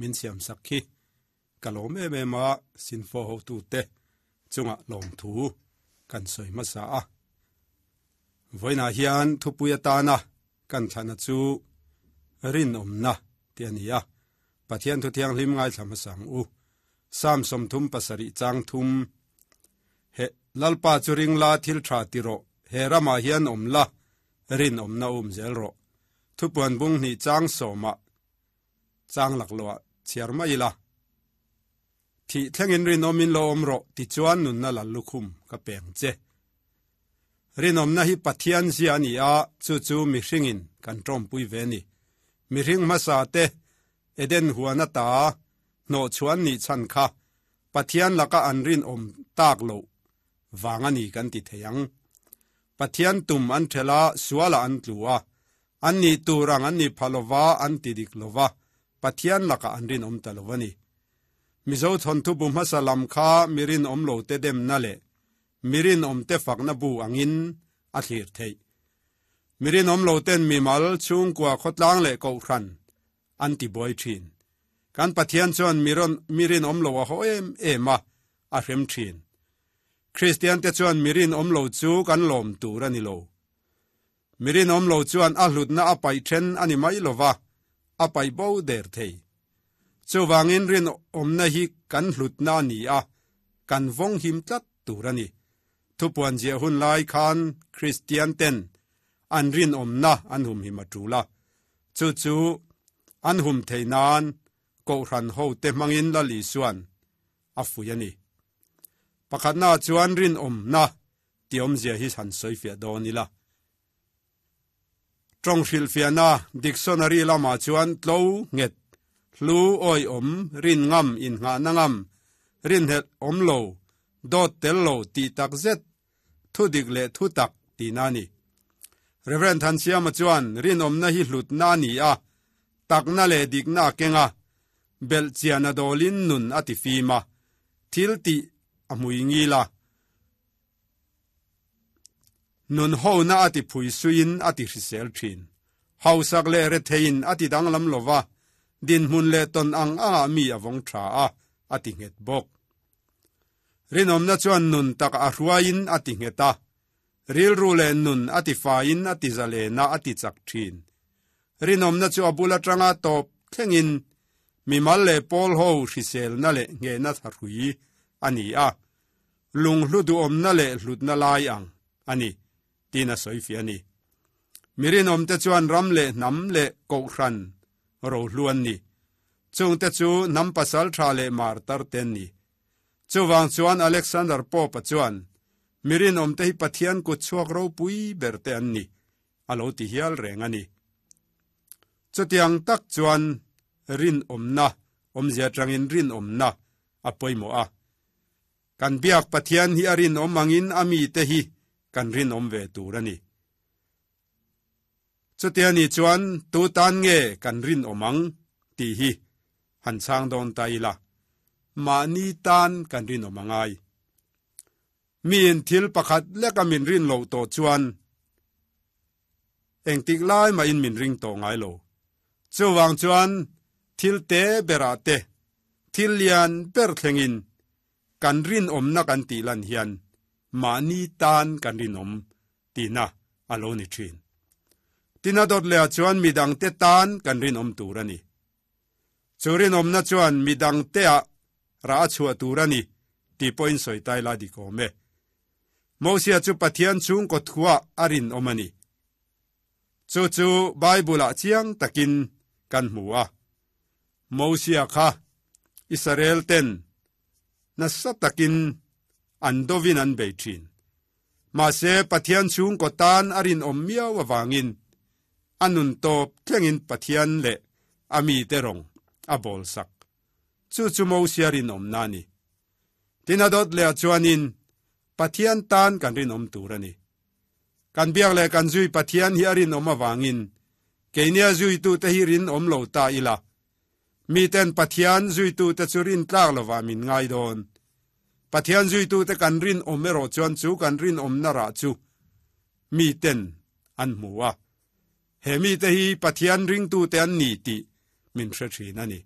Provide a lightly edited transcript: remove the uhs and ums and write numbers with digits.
min siam sak hi ka lawm em em a, Sinfo hotute chungah lawmthu kan sawi hmasa a. Vawiinah hian thupui atana kan thlahna chu rinawmna tih a ni a, Pathian thu thianghlim ngaithla hmasa ang u. Psalm 37 chang thum He Lalpa chu ring la thil tha ti rawh, he ramah hian awm la, rinawmna um zel rawh. Thupuan bung hnih chang sawmah chang laklawh ah chhiar mai ila. Thih thlengin rinawmin lo awm rawh tichuan nunna lal lukhum ka peng che. Rinawmna hi Pathian zia a ni a, chu chu mihringin kan tawmpui ve a ni. Mihring hmasa te Eden huan ata hnawhchhuan nih chhan kha Pathian laka an rinawm tak loh vang a ni kan ti thei ang. Pathian tum an ṭhelh a, sualah an tlu a, an nih tur ang an ni pha lova, an ti dik lova, Pathian lakah an rinawm ta lo a ni. Mizo thawnthu bu hmasa lam kha mi rinawm lo te demna leh mi rinawm te fakna bu angin a thlir theih. Mi rinawm lo ten mimal, chhungkua, khawtlang leh kohhran an ti buai thin. Kan Pathian chuan mi rawn mi rinawm lo a haw em em a, a hrem thin. Kristian te chuan mi rinawm lo chu kan lawm tur a ni lo. Mi rinawm lo chuan a hlutna a paih then a ni mai lo va, a paih bo der thei. Chuvangin rinawmna hi kan hlutna a ni a, kan vawng him tlat tur a ni. Thupuan ziah hun lai khan Kristian ten an rinawmna an humhim a tul a, chu chu an hum thei nan Kohhran hote hmangin Lal Isuan a fuih a ni. Pakhatna chuan rinawmna tih awmzia hi han sawifiah dawn ila. Tawng hrilhfiahna dictionary lamah chuan tlo, nghet, hlu, awihawm, rin ngam, inngahna ngam, rinhelh awm lo, dawt tel lo tih tak zet, thu dik leh thu tak tihna a ni. Rev. Thansiama chuan rinawmna hi hlutna a ni a, takna leh dikna a keng a, belh chian a dawlin nun a ti fim a, thil tih a hmui ngil a, Nun hona a ti phui suiin a ti hrisel thin. Hausak leh retheiin a ti danglam lo va, dinhmun leh tawn ang angah mi a vawng tha a, a ti nghet bawk. Rinawmna chuan nun tak a hruaiin a ti nghet a, rilru leh nun a ti faiin a ti zalen a, a ti chak thin. Rinawmna chu a bul atanga tawp thlengin mimal leh pawl ho hriselna leh nghehna thahrui a ni a, Lunghlu duhawmna leh hlutna lai ang a ni, tiin a sawi fiah a ni. Mi rinawmte chuan ram leh hnam leh kohhran rohlu an ni. Chungte chu hnam pasal tha leh martar te an ni. Chuvang chuan Alexander Pope-a chuan, Mi rinawmte hi Pathian kut chhuak ropui ber te an ni, a lo ti hial reng a ni. Chutiang tak chuan rinawmna awmzia atangin rinawmna a pawimawh a. Kan biak Pathian hi a rinawm angin a mite hi kan rinawm ve tur a ni. Chutia ni chuan tu tan nge kan rinawm ang tih hi han chhang dawn ta ila, mahni tan kan rinawm a ngai. Miin thil pakhat leka min rin loh tawh chuan engtik lai mahin min ring tawh ngai lo. Chuvang chuan thil te berah te, thil lian ber thlengin kan rinawmna kan tih lan hian mahni tan kan rinawm tihna a lo ni thin. Tina dawt lehah chuan midangte tan kan rinawm tur a ni. Chu rinawmna chuan midangteah rah a chhuah tur a ni tih pawhin sawi tai la dik awm e. Mosia chu Pathian chhungkaw thuah a rinawm a ni. Chu chu Bible-ah chiang takin kan hmu a. Mosia kha Israel ten nasa takin an dovin an bei thin. Mahse Pathian chhungkaw tan a rinawm miau avangin a nun tawp thlengin Pathian leh a mite rawng a bawlsak. Chu chu Mosia rinawmna a ni. Tin a dawt leh chuanin Pathian tan kan rinawm tur a ni. Kan biak leh kan zui Pathian hi a rinawm avangin keinia zuitute hi rinawm lo ta ila. Miten Pathian zuitute chu rintlak lovah min ngai dawn. Pathian zuitute kan rinawm erawh chuan chu kan rinawmna rah chu miten an hmu a. He mite hi Pathian ringtute an ni tih min hre thin a ni.